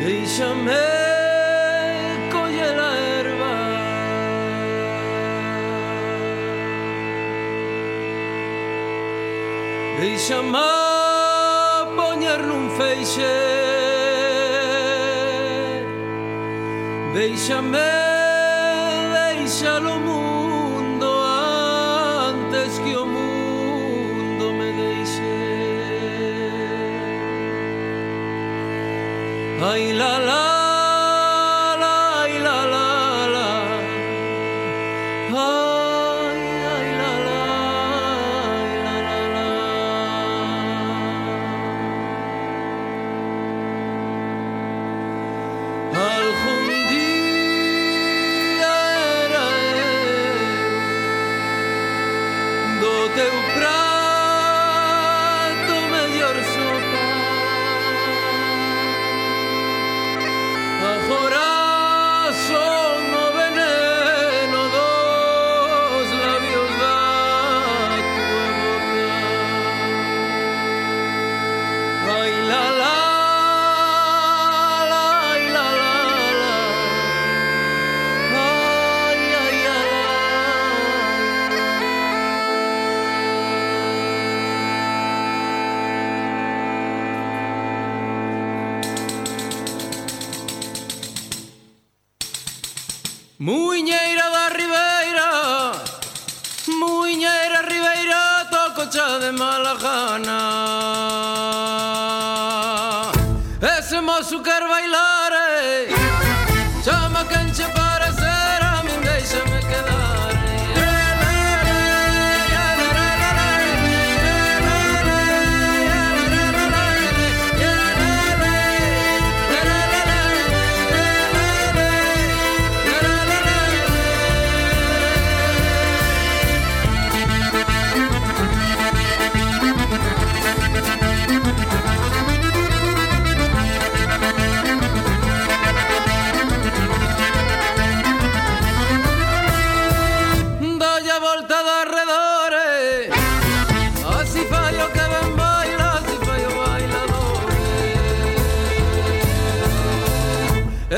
Déixame coller a erva, déixame poñer nun feixe, déixame deixar o mundo antes que o mundo me deixe. Ai la la la, ai la la la, ai ai la la, ai la la la. Algún día era do teu prato mellor sopa. Agora son o veneno dos labios da tua boca. Ai la la la, ai la la la, ai ai la la. Muiñeira da Ribeira, Muiñeira Ribeira, toco cha de mala gana. Ese mozo quer bailar, chama quen che parecer, a min déixame quedar. Dolle a volta de arredores, así fai o que ben baila, así fai o bailador.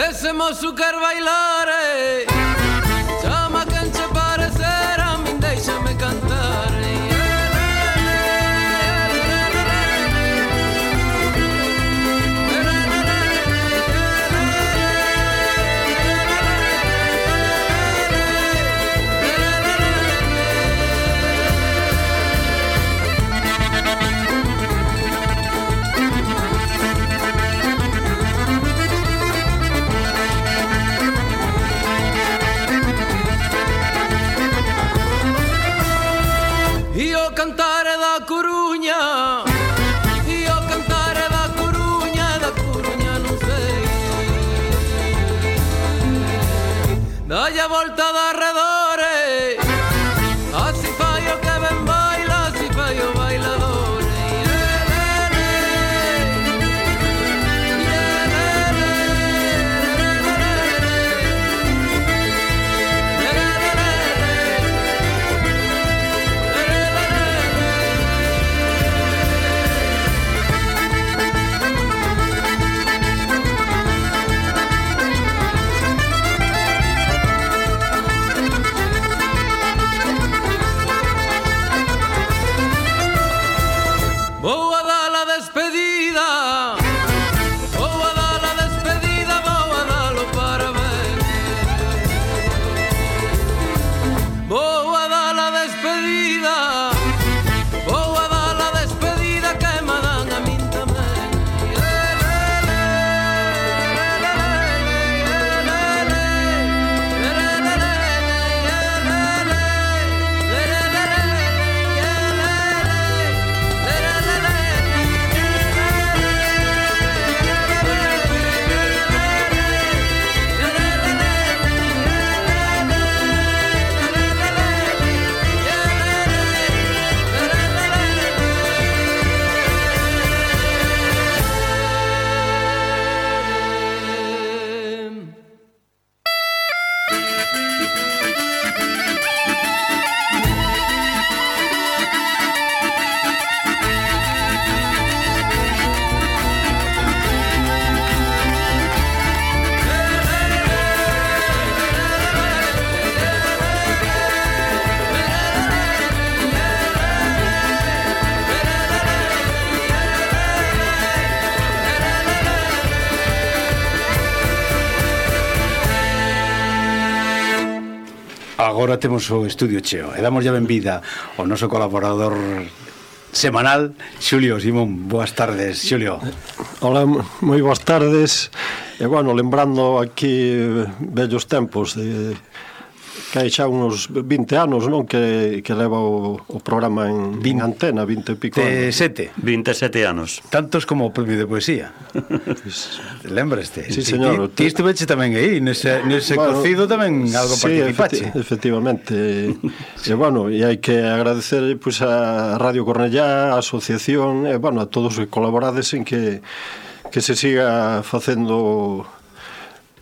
Ese mozo quer bailar, chama quen che parecer, a min déixame cantar. agora temos o estudio cheo e damos ya benvida ao noso colaborador semanal, Xulio Simón. Boas tardes, Xulio. Hola, moi boas tardes. E, bueno, lembrando aquí vellos tempos de que hai xa uns 20 anos, non? Que leva o programa en antena, 20 e pico anos. 27 anos. Tantos como o premio de poesía. Lembraste? Sí, señor. Ti estuveche tamén aí, nese bueno, cocido tamén algo participache. Sí, efectivamente. E, bueno, e hai que agradecer pois, a Radio Cornellá, a asociación, e, bueno, a todos os que colaborades en que se siga facendo...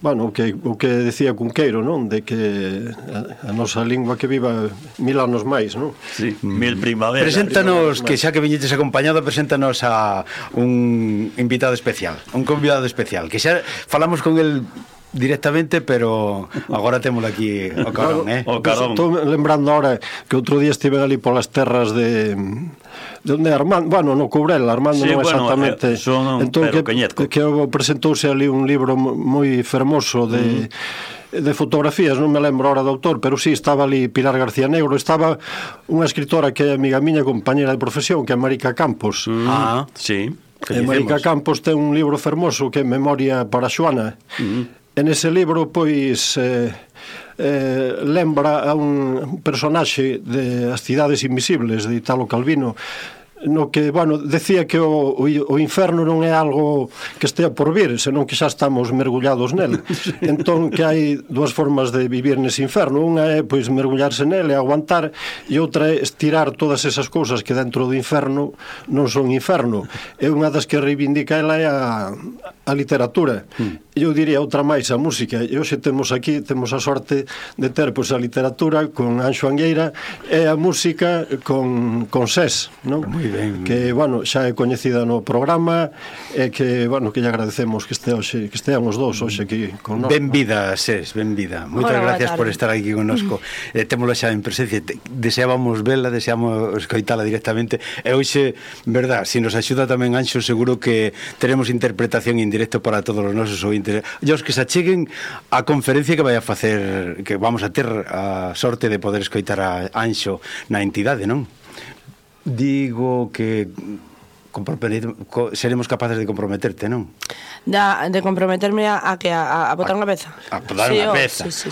Bueno, o que decía Cunqueiro, non? De que a nosa lingua que viva 1000 anos máis, non? Sí, 1000 primaveras. Preséntanos, que xa que viñetes acompañado, preséntanos a un invitado especial, un convidado especial, que xa falamos con el directamente, pero agora témolo aquí o carón, O carón. Estou lembrando ahora que outro día estive ali polas terras de onde Armando, bueno, no Courel, Armando sí, non exactamente. Entón que presentouse ali un libro moi fermoso de fotografías, non me lembro ahora do autor, pero sí, estaba ali Pilar García Negro, estaba unha escritora que é amiga miña, compañera de profesión, que é Marica Campos. Sí. E Marica Campos ten un libro fermoso que é Memoria para Xoana. En ese libro, pois, lembra a un personaxe de As cidades invisibles, de Italo Calvino, no que, bueno, decía que o inferno non é algo que estea por vir, senón que xa estamos mergullados nel. Entón, que hai dúas formas de vivir nese inferno. Unha é, pois, mergullarse nel e aguantar, e outra é estirar todas esas cousas que dentro do inferno non son inferno. E unha das que reivindica ela é a literatura. E eu diría outra máis, a música. E hoxe temos aquí, temos a sorte de ter, pois, a literatura con Anxo Angueira e a música con SES, non? Ben. Que, bueno, xa é coñecida no programa e que, bueno, que lle agradecemos que estean os dous hoxe aquí con nós. Benvida, Ses, benvida. Moitas gracias por estar aquí connosco. Témolo xa en presencia. Deseábamos vela, deseamos escoitala directamente. E hoxe, verdad, se nos axuda tamén Anxo, seguro que teremos interpretación en directo para todos os nosos ointes. E os que se acheguen a conferencia que vai a facer, que vamos a ter a sorte de poder escoitar a Anxo na entidade, non? Digo que seremos capaces de comprometerte, non? De comprometerme a botar unha peza. A botar unha peza. Sí.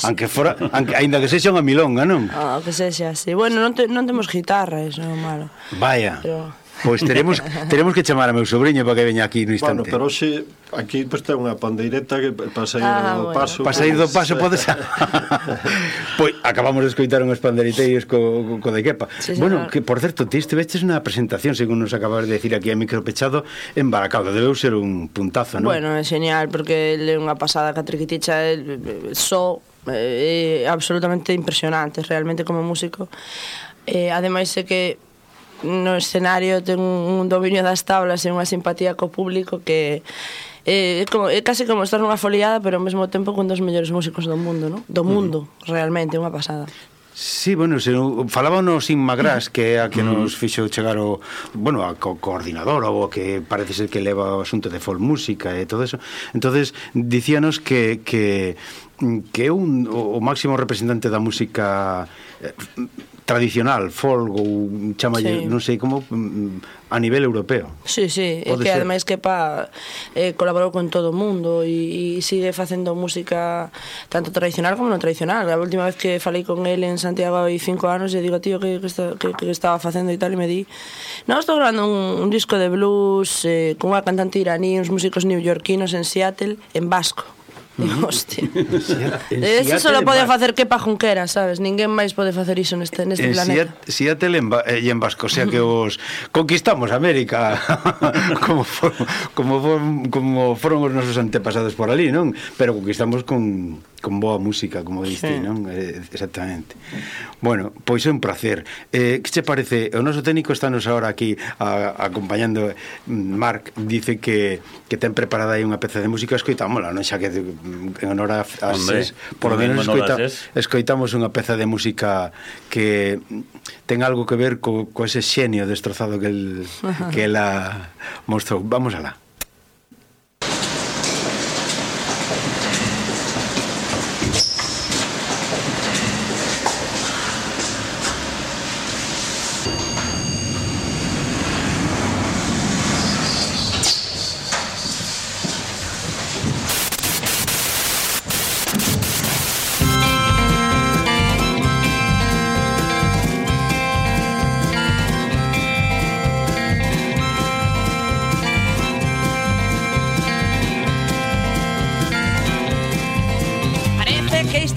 Ainda que sexa unha milonga, non? Que sexa, sí. Bueno, non temos guitarra, eso é malo. Vaya. Pero... Pois teremos que chamar a meu sobrinho para que veña aquí no instante. Bueno, pero hoxe aquí pois ten unha pandeireta que para sair do paso. Para sair do paso podes. Pois acabamos de escoitar unhos pandeiriteiros co de quepa. Sí, bueno, que por certo, ti estiveches unha presentación, según nos acabas de decir aquí a micro pechado, en Baracaldo. Debeu ser un puntazo, non? Bueno, é genial, porque é unha pasada que a Triquiticha é absolutamente impresionante, realmente, como músico. Ademais é que no escenario ten un dominio das tablas e unha simpatía co público que é casi como estar nunha foliada, pero ao mesmo tempo con dos mellores músicos do mundo, non? Do mundo, realmente, unha pasada. Sí, bueno, falábamos Inma Gras, que é a que nos fixo chegar a coordinadora, ou que parece ser que leva o asunto de folk música e todo eso. Entonces, dicíanos que é o máximo representante da música tradicional, folk, ou chamalle, non sei como, a nivel europeo. Sí, é que ademais que colaborou con todo o mundo e sigue facendo música tanto tradicional como non tradicional. A última vez que falei con ele en Santiago hai 5 anos e digo, tío, que estaba facendo e tal, e me di, estou grabando un disco de blues con unha cantante iraní, uns músicos neoyorquinos en Seattle, en vasco. Digo, hostia. Eso só pode facer Kepa Junquera, sabes? Ninguén máis pode facer iso neste planeta. Seattle e en vasco, o sea que os conquistamos América como foron os nosos antepasados por ali, non? Pero conquistamos con boa música, como diste, non? Exactamente. Bueno, pois é un placer. Que che parece? O noso técnico estános agora aquí acompañando. Marc dice que ten preparada aí unha peza de música, escoitámola, non? Xa que en honor a SES, por lo menos escoitamos unha peza de música que ten algo que ver co ese xenio destrozado que ela mostrou. Vamos alá.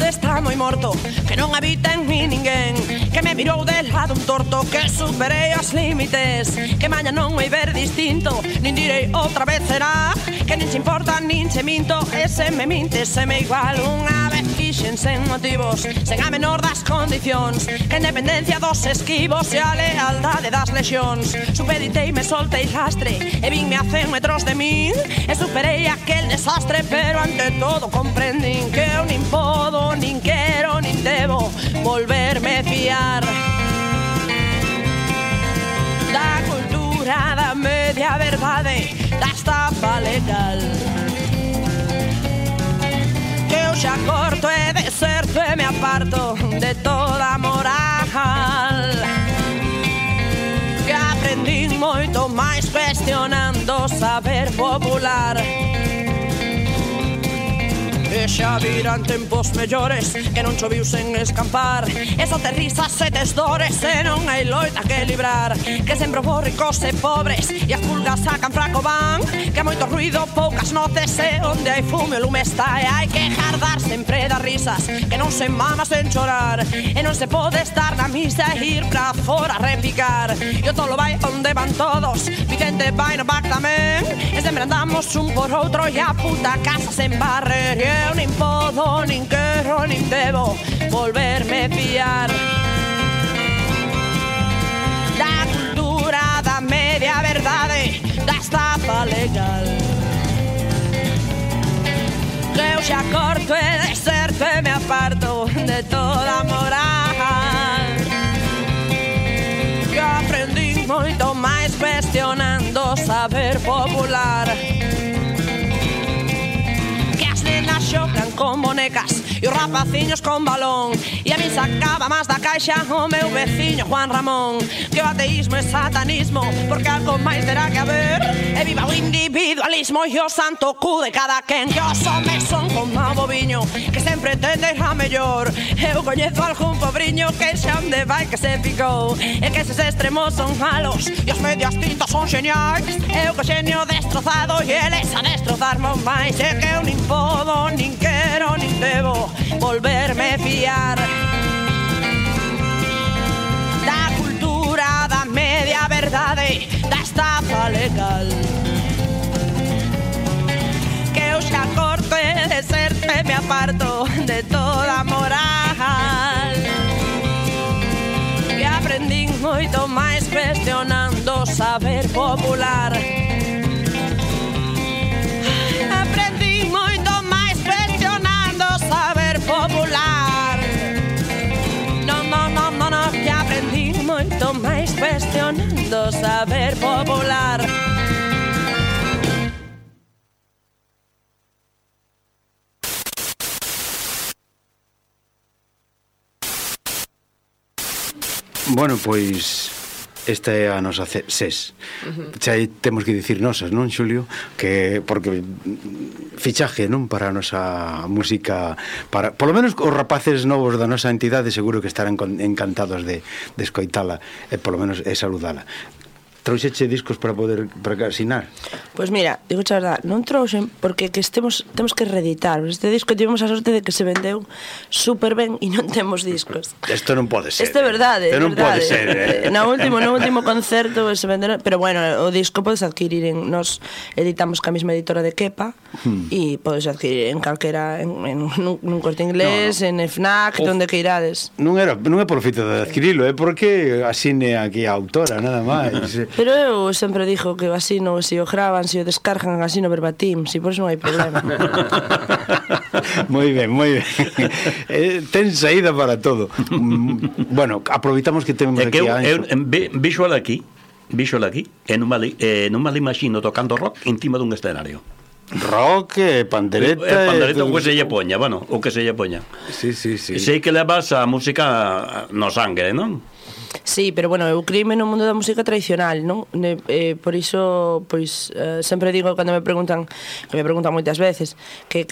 mundo está moi morto, que non habita en mí ninguén, que me mirou de lado un torto, que superei os límites, que maña non vai ver distinto, nin direi outra vez será, que nin se importa nin se minto, e se me minte se me igual. Unha vez quixen sen motivos, sen a menor das condicións, que a independencia dos esquivos e a lealdade das lexións. Supeditei, me soltei lastre e vinme a 100 metros de min, e superei aquel desastre, pero ante todo comprendín que eu nin podo, nin quero, nin debo volverme fiar da cultura da media verdade, da estafa legal, que eu xa corto e deserto e me aparto de toda moral, que aprendín moito máis cuestionando o saber popular. E xa virán tempos mellores, que non choviu sen escampar, e só te risas e tes dores, e non hai loita que librar, que sempre vos ricos e pobres, e as pulgas sacan fraco van, que hai moito ruido, poucas notes, e onde hai fume o lume está, e hai que jardar sempre das risas, que non se mama sen chorar, e non se pode estar na misa e ir pra fora a repicar, e o tolo vai onde van todos, Vicente vai no back tamén, e sempre andamos un por outro, e a puta casa sen barrer. Eu nin podo, nin quero, nin debo volverme fiar da cultura da media verdade, da estafa legal, que eu xa corto e deserto e me aparto de toda moral, que aprendí moito máis cuestionando o saber popular, xocan con bonecas e os rapaciños con balón, e a mí sacaba máis da caixa o meu veciño Juan Ramón, que o ateísmo é satanismo, porque algo máis terá que haber, e viva o individualismo e o santo cu de cada quen, que os homes son como o boviño, que sempre tende a mellor. Eu coñezo algún pobriño que xa onde vai que se picou, e que eses extremos son malos e os medias tintas son xeniais, eu co xenio destrozado e eles a destrozarme máis, e que eu nin podo, nin quero, nin debo volverme fiar da cultura da media verdade, da estafa legal, que eu xa corto e deserto e me aparto de toda moral, que aprendín moito máis cuestionando o saber popular, aprendín moito máis cuestionando o saber popular, no, que aprendín moito máis cuestionando o saber popular. Bueno, pois esta é a nosa SES. Xa temos que dicir nosas, non, Xulio? Que porque fichaje, non, para a nosa música, para polo menos os rapaces novos da nosa entidade seguro que estarán encantados de escoitala e polo menos saludala. Trouxeche discos para poder asinar? Pois mira, digo a verdade, non trouxen porque que temos que reeditar. Este disco tivemos a sorte de que se vendeu super ben e non temos discos. Isto non pode ser. Isto é verdade. Isto non pode ser. No último concerto se venderon, pero bueno, o disco podes adquirir nos editamos ca mesma editora de Kepa e podes adquirir en calquera nun Corte Inglés, en FNAC, onde que irades. Non é por feito de adquirilo, é porque asine aquí a autora, nada máis. Pero eu sempre dixo que así no, se o graban, se o descargan así no verbatim, si por eso non hai problema. Moi ben, moi ben. Ten saída para todo. Bueno, aproveitamos que temos aquí a Anxo. Visual aquí, e non me imagino tocando rock encima dun escenario. Rock, pandereta... Pandereta o que se lle poña, bueno, o que se lle poña. Sí. Sei que levas a música no sangue, non? Sí, pero bueno, eu criime no mundo da música tradicional, non? Por iso, pois, sempre digo cando me preguntan, que me preguntan moitas veces, que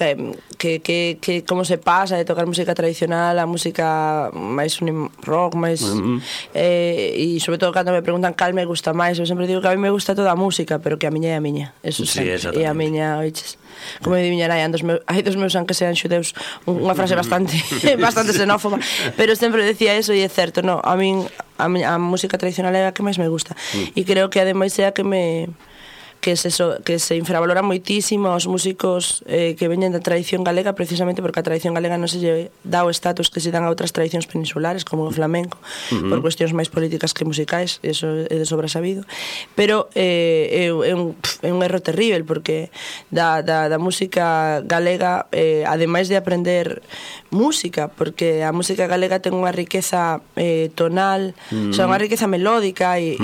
como se pasa de tocar música tradicional a música máis rock, máis... E sobre todo cando me preguntan cal me gusta máis, eu sempre digo que a mí me gusta toda a música, pero que a miña é a miña, eso sí, sempre, e a miña, oiches. como diña nai, hai dos meus aunque sean xudeus, unha frase bastante xenófoba, pero sempre decía eso e é certo, no, a min a música tradicional é a que máis me gusta e creo que ademais é a que se infravalora moitísimo aos músicos que veñen da tradición galega, precisamente porque a tradición galega non se lle dá o status que se dan a outras tradicións peninsulares como o flamenco, por cuestións máis políticas que musicais, eso é de sobra sabido, pero é un erro terrible porque da música galega, ademais de aprender música, porque a música galega ten unha riqueza tonal, o sea, unha riqueza melódica e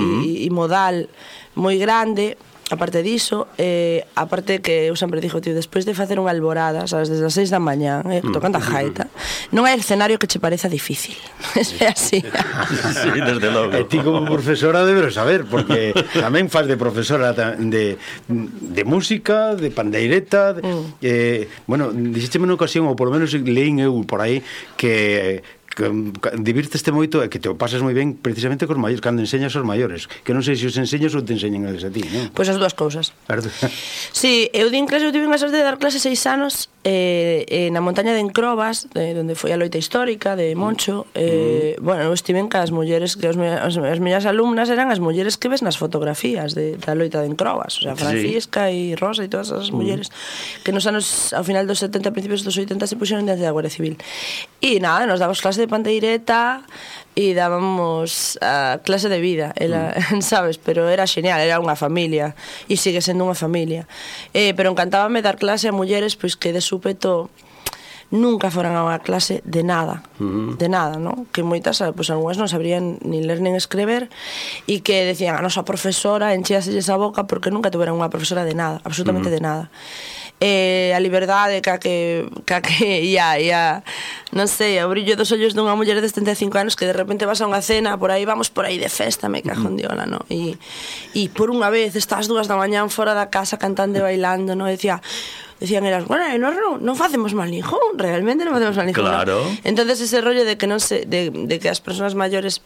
modal moi grande. Aparte diso, aparte que eu sempre dixo, tío, despois de facer unha alborada, sabes, desde as 6 da mañá, tocando a gaita, non hai escenario que che pareza difícil. É así. Sí, desde logo. E ti como profesora deberes saber, porque tamén faz de profesora de música, de pandeireta, bueno, dixécheme unha ocasión, ou polo menos leín eu por aí, que divirteste moito e que te o pasas moi ben precisamente cos maiores, cando enseñas aos maiores, que non sei se os enseñas ou te enseñan eles a ti, non? Pois as dúas cousas. Sí, eu din clase, eu tive unha sorte de dar clase 6 anos na montaña de Encrobas, onde foi a loita histórica de Moncho. Bueno, eu estive en as mulleres, que as miñas alumnas eran as mulleres que ves nas fotografías da loita de Encrobas, o sea, Francisca e Rosa e todas as mulleres que nos anos, ao final dos 70, principios dos 80 se puxeron dentro da Guardia Civil. E nada, nos damos clase de pandeireta e dábamos a clase de vida, sabes, pero era genial, era unha familia e sigue sendo unha familia, pero encantábame dar clase a mulleres pois que de súpeto nunca foran a unha clase de nada, ¿no? Que moitas, pois algunhas non sabrían nin ler nin escrever e que decían a nosa profesora enchíaselles a boca porque nunca tuveran unha profesora de nada, absolutamente de nada. A liberdade que non sei, o brillo dos ollos dunha muller de 75 anos que de repente vas a unha cena, vamos por aí de festa, me cajo en diola, no? E por unha vez estás 2 da mañán fora da casa cantando e bailando, no? Decían elas, bueno, non facemos mal ningún, realmente non facemos mal ningún. Claro. Entonces ese rollo de que non se, de que as persoas maiores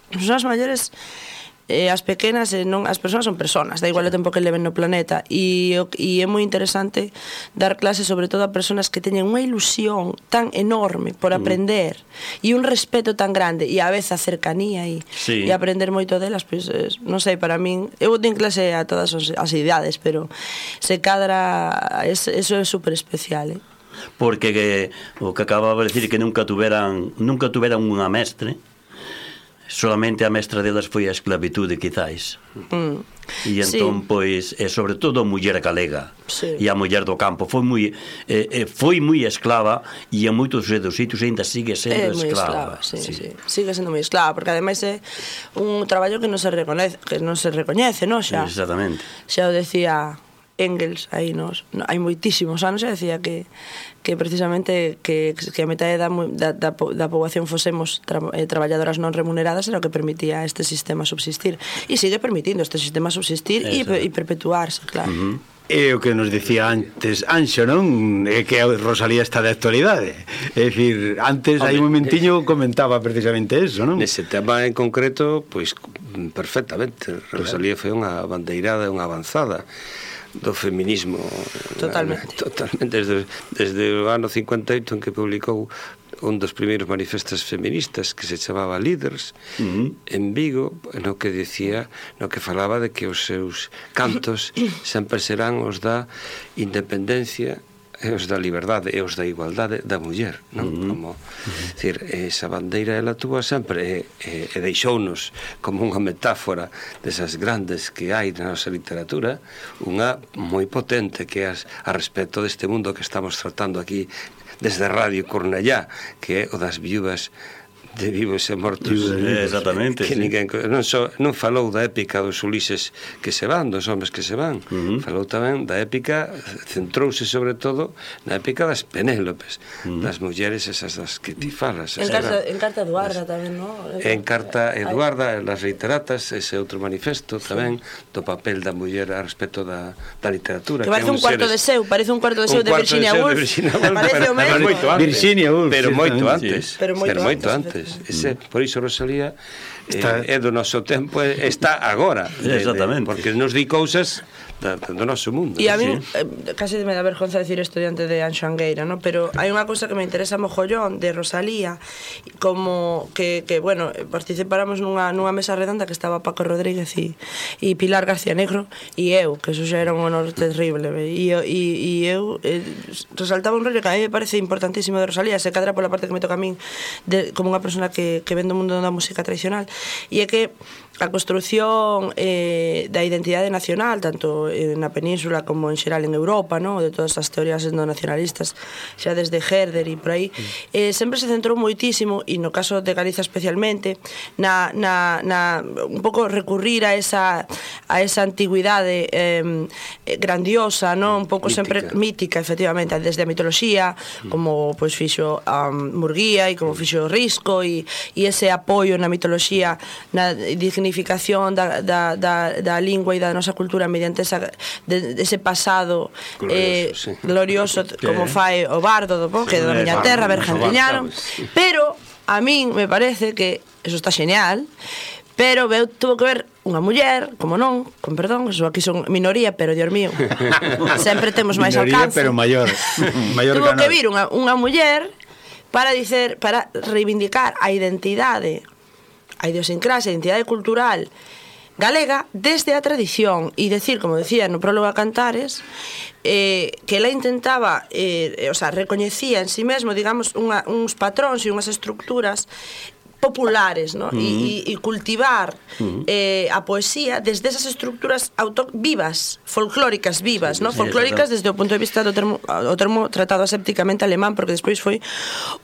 as pequenas, non, as persoas son personas, da igual o tempo que leven no planeta e é moi interesante dar clases sobre todo a persoas que teñen unha ilusión tan enorme por aprender e un respeto tan grande e a vez a cercanía e aprender moito delas, pois non sei, para min eu din clase a todas as idades, pero se cadra eso é super especial, porque o que acababa de decir que nunca tuveran unha mestre. Solamente a mestra delas foi a esclavitude, quizáis. E entón, pois, sobre todo a muller galega e a muller do campo foi moi esclava e a moitos dos sitios ainda sigue sendo esclava. Sigue sendo moi esclava, porque ademais é un traballo que non se recoñece, non xa? Exactamente. Xa o decía Engels, hai moitísimos anos, xa decía que precisamente que a metade da poboación fosemos traballadoras non remuneradas era o que permitía este sistema subsistir e sigue permitindo este sistema subsistir e perpetuarse, claro. É o que nos dicía antes Anxo, non? É que a Rosalía está de actualidade. É dicir, antes hai un momentiño comentaba precisamente eso, non? Nese tema en concreto, pois perfectamente. Rosalía foi unha bandeirada, unha avanzada do feminismo totalmente desde o ano 58 en que publicou un dos primeiros manifestos feministas que se chamaba Líderes en Vigo, no que decía, no que falaba de que os seus cantos sempre serán os da independencia e os da liberdade e os da igualdade da muller, non? Como, decir, esa bandeira ela túa sempre e deixounos como unha metáfora desas grandes que hai na nosa literatura, unha moi potente que é a respecto deste mundo que estamos tratando aquí desde Radio Cornellá, que é o das viúvas de vivos e mortos. Exactamente, que ninguén, non falou da épica dos Ulises que se van, dos homes que se van, falou tamén da épica, centrouse sobre todo na épica das Penélopes, das mulleres esas das que ti falas. En Carta Eduarda tamén, non? En Carta Eduarda, las Reiteratas, ese outro manifesto tamén do papel da muller a respecto da literatura. Que parece un cuarto de seu, de Virginia Woolf. Parece o mesmo. Virginia Woolf. Pero moito antes. Ese, por iso Rosalía é do noso tempo, está agora. Exactamente. Porque nos di cousas do noso mundo. E a mí casi me dá vergonza decir isto diante de Anxo Angueira, ¿no? Pero hai unha cousa que me interesa mogollón de Rosalía, como que bueno, participáramos nunha mesa redonda que estaba Paco Rodríguez e Pilar García Negro e eu, que eso xa era un honor terrible, e eu resaltaba un rollo que a mí me parece importantísimo de Rosalía, se cadra pola parte que me toca a min como unha persona que ven do mundo da música tradicional, e é que a construción da identidade nacional, tanto na península como en xeral en Europa, ¿no? De todas as teorías nacionalistas, xa desde Herder e por aí, sempre se centrou moitísimo, e no caso de Galiza especialmente, un pouco recurrir a esa antigüidade grandiosa, ¿no? Un pouco sempre mítica, efectivamente, desde a mitoloxía, como pois fixo Murguía e como fixo Risco, e ese apoio na mitoloxía, na dignificación da lingua e da nosa cultura mediante ese pasado glorioso como fai o bardo do Boque, da miña terra, Bergantiñano. Pero a min me parece que eso está genial, pero tuvo que ver unha muller, como non, con perdón, eso aquí son minoría, pero Dios mío, sempre temos máis alcance. Minoría, pero maior tuvo que vir unha muller para reivindicar a identidade, a idiosincrasia, a identidade cultural galega desde a tradición, e decir, como decía no prólogo a Cantares, que ela intentaba, o sea, recoñecía en sí mesmo, digamos, uns patróns e unhas estructuras populares, ¿no? E cultivar a poesía desde esas estructuras vivas, folclóricas vivas, ¿no? Folclóricas desde o punto de vista do termo tratado asépticamente alemán, porque despois foi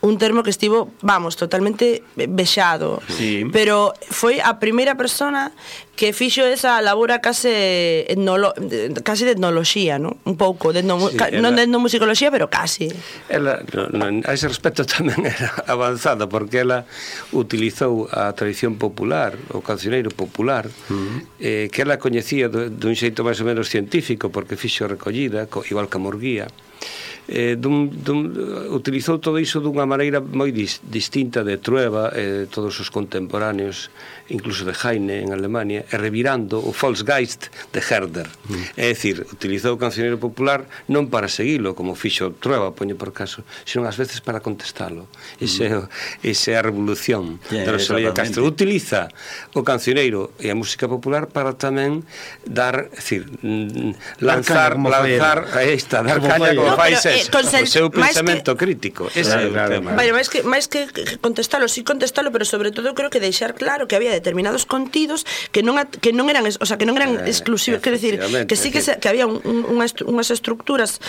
un termo que estivo, vamos, totalmente vexado. Sí. Pero foi a primeira persona que fixo esa labora case de etnoloxía, ¿no? Un pouco, non de etnomusicoloxía, pero casi. Ela, a ese respecto, tamén era avanzada, porque ela utilizou a tradición popular, o cancioneiro popular, que ela coñecía dun xeito máis ou menos científico, porque fixo recollida, igual que a Murguía, utilizou todo iso dunha maneira moi distinta de Trueba e todos os contemporáneos, incluso de Heine en Alemania, e revirando o Volksgeist de Herder. É dicir, utilizou o cancioneiro popular non para seguilo, como fixo Trueba, poño por caso, senón ás veces para contestalo. Esa é a revolución de Rosalía Castro. Utiliza o cancioneiro e a música popular para tamén dar, lanzar, aí está, dar caña como fai o seu pensamento crítico. Ese é o tema. Máis que contestalo, sí contestalo, pero sobre todo creo que deixar claro que había determinados contidos que non eran, o sea, que non eran exclusivos, quero dicir, que sí que había unhas estructuras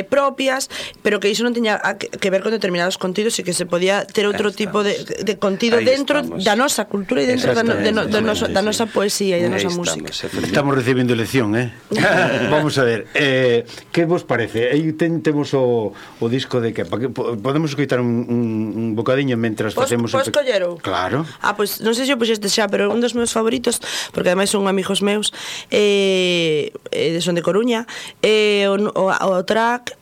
propias, pero que iso non tiña que ver con determinados contidos e que se podía ter outro tipo de contido dentro da nosa cultura e dentro da nosa poesía e da nosa música. Estamos recibindo lección, Vamos a ver, que vos parece? Aí temos o disco de que podemos escoitar un bocadiño mentras facemos... Podes collero? Claro. Pois non sei se o puxeste xa, pero un dos meus favoritos, porque ademais son amigos meus, son de Coruña, o track,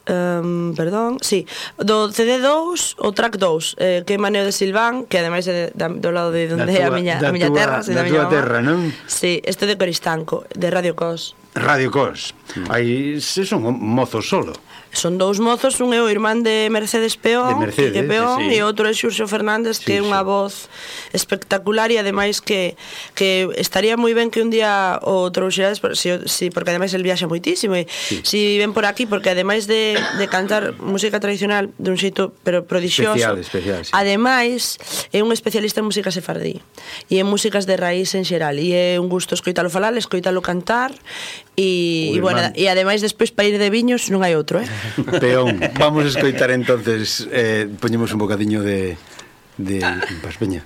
perdón, sí, do CD2, o track 2, que é Maneo de Silván, que ademais é do lado de onde é a miña terra, da túa terra, non? Sí, este de Coristanco, de Radio Cos. Radio Cos. Aí son mozos solo. Son dous mozos, un é o irmán de Mercedes Peón, e outro é Xurxo Fernández, que é unha voz espectacular, e ademais que estaría moi ben que un día o trouxerades, porque ademais el viaxa moitísimo, e si ven por aquí, porque ademais de cantar música tradicional dun xeito pero prodixioso, especial, sí. Ademais é un especialista en música sefardí e en músicas de raíz en xeral, e é un gusto escoitalo falar, escoitalo cantar, e bueno, e ademais despois para ir de viños non hai outro, Peón, vamos a escoitar entonces, poñemos un bocadiño de Paspeña.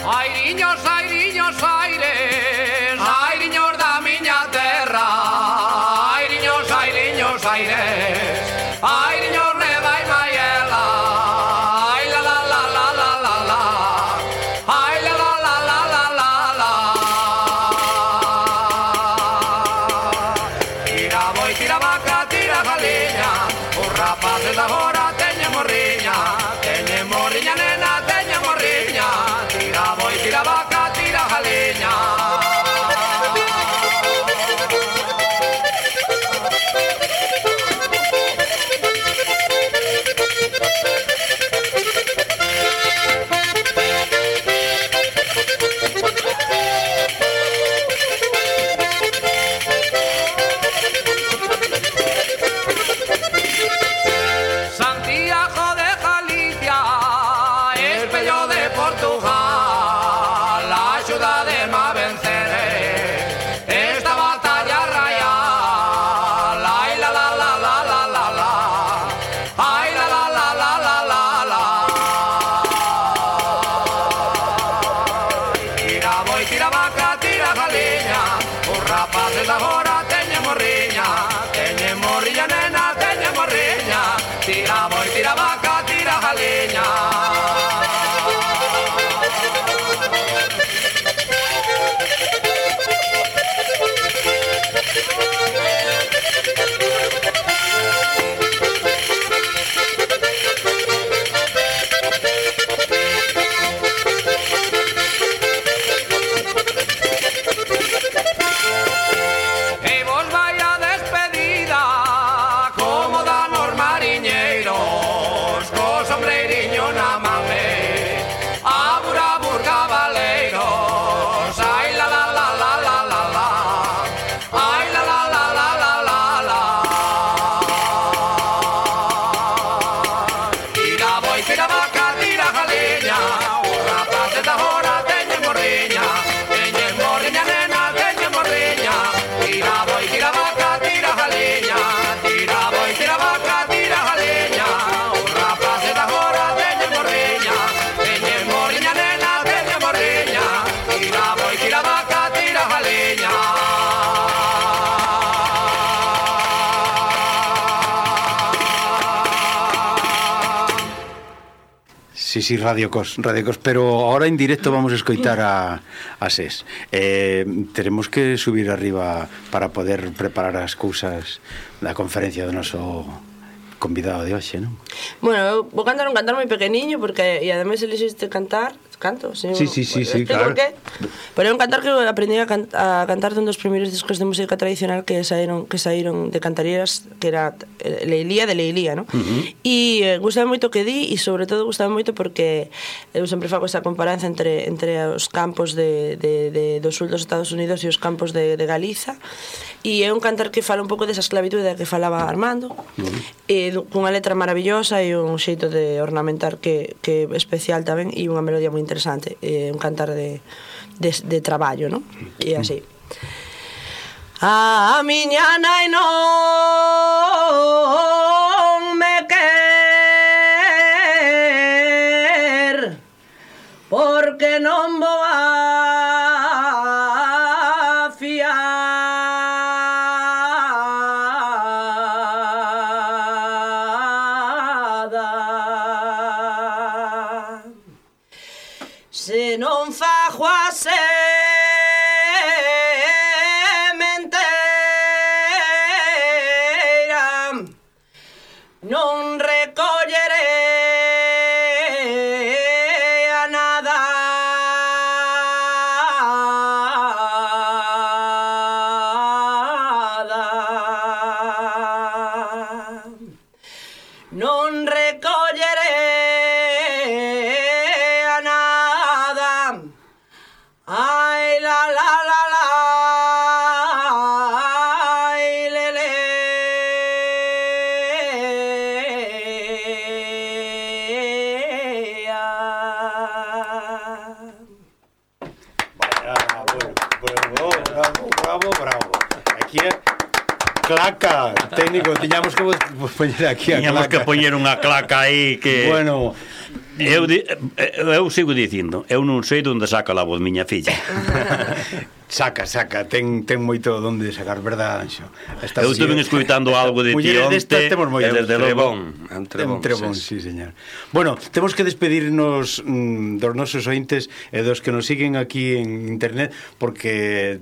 Airiños, airiños, aires, airiños da miña terra. Airiños, airiños, aires, airiños neva e maiela. Ai la la la la la la la, ai la la la la la la la. Tira boi, tira vaca, tira galiña, os rapaces da agora teñen morriña, nena, teñen morriña. Tira boi, tira vaca, tira galiña. Santiago de Galicia, espello de Portugal, la ciudad de ma venceré esta batalla rayal. Ay la la la la la la la, ay la la la la la la la. Tira boi, tira vaca, tira galiña, os rapaces agora teñen morriña, nena, teñen morriña. Tira boi, tira vaca, tira galiña. E vos vai a despedida como dan os mariñeiros, co sombreiriño na mame, a burabur cabaleiros. Ai la la la la la la la, ai la la la la la la la. Tira boi, tira vaca, tira galiña, os rapaces da agora teñen morriña, nena, teñen morriña. Tira boi, tira vaca, tira galiña, tira boi, tira vaca, tira galiña, os rapaces da agora teñen morriña, nena, teñen morriña. Tira boi, tira vaca, tira galiña. Sí, Radio Cos, pero ahora en directo vamos a escoitar a SES. Teremos que subir arriba para poder preparar as cousas da conferencia do noso convidado de hoxe, non? Bueno, eu vou cantar un cantar moi pequeniño porque e ademais elixiste cantar, canto, sí, claro. Pero é un cantar que eu aprendí a cantar dun dos primeiros discos de música tradicional que saíron de Cantareiras, que era Leilía de Leilía, ¿no? E gustaba moito que di e sobre todo gustaba moito porque eu sempre fago esa comparanza entre os campos do sul dos Estados Unidos e os campos de Galiza, e é un cantar que fala un pouco desa esclavitud da que falaba Armando, e cunha letra maravillosa e un xeito de ornamentar que é especial tamén, e unha melodía moi interesante, un cantar de traballo, non? E así. A miña nai non me quer porque non vou a fiar. Se non fago a sementeira, non recollerei a nada. Non recollerei a nada. Ai la la la la, ai le le. Bravo. Aquí é claca, técnico, tiñamos que poñer aquí a claca. Tiñamos que poñer unha claca aí que... Bueno, Eu sigo dicindo, eu non sei onde saca a voz miña filla. Saca, ten moito onde sacar, verdad, Anxo? Eu estuve escoitando algo de ti onte, e desde logo... Un trebón, sí, señor. Bueno, temos que despedirnos dos nosos ointes e dos que nos siguen aquí en internet, porque...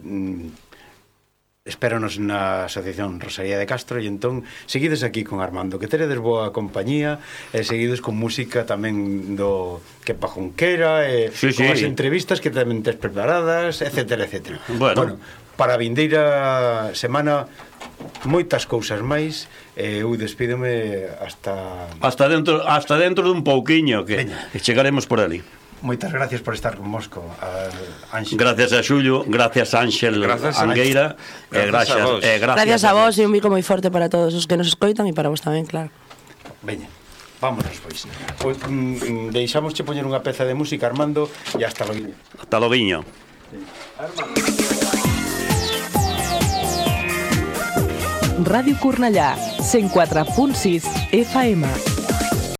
espéranos na Asociación Rosalía de Castro e entón seguides aquí con Armando, que teredes boa compañía e seguides con música tamén do Kepa Junquera e con as entrevistas que tamén tes preparadas, etcétera, etcétera. Bueno, para a vindeira semana moitas cousas máis e eu despídome hasta dentro dun pouquiño que chegaremos por ali. Moitas gracias por estar convosco, Ángel. Gracias a Xulio, gracias a Ángel Angueira, gracias a vos e un bico moi forte para todos os que nos escoitan e para vos tamén, claro. Veña, vámonos, pois. Deixamos che poñer unha peza de música, Armando, e hasta loguiño. Hasta loguiño. Radio Cornellà, 104.6 FM.